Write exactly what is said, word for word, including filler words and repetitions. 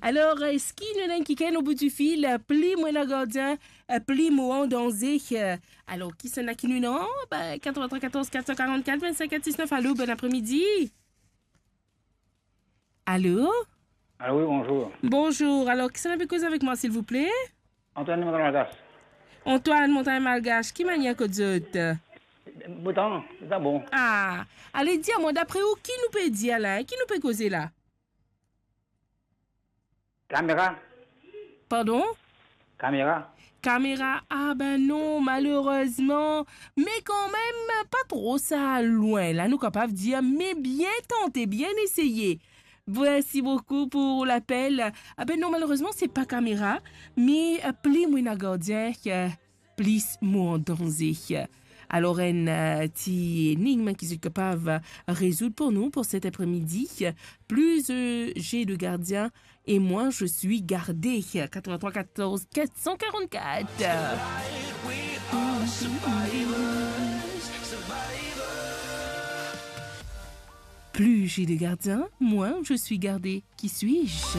Alor, eski nou ena enn kikenn o bout di fil? Pli mo ena gardien, pli mo an danze. Alor, kisannla ki nou ena? Ba, quatre-vingt-trois quatorze quatre cent quarante-quatre vingt-cinq quatre-vingt-dix-neuf. Alo, bon apremidi. Alo? Alo, wi, bonzour. Bonzour. Alor, kisannla pe koz avek mwa, silvouple? Antoine, Montagne Malgache. Antoine, Montagne Malgache, ki manier kot zot? Botan, sa bon. Ah, ale, dir mwa, dapre ou, ki nou pe dir la, hein? Ki nou pe koze la? Kamera. Pardon? Kamera. Kamera, ah ben non, malerezman. Me kanmem, pa tro sa lwin la, nou kapav dir, me bien tante, bien eseye. Mersi boukou pou lapel. Ah ben non, malerezman, se pa kamera, me, euh, pli mo ena gardien, euh, plis mo an danze. Alor, enn, euh, ti enigm ki zot kapav rezoud pou nou pou set apremidi. Plus, euh, j'ai de gardiens, et moins je suis gardé. Quatre-vingt-trois quatorze quatre cent quarante-quatre. Plus j'ai de gardiens, moins je suis gardé. Qui suis-je?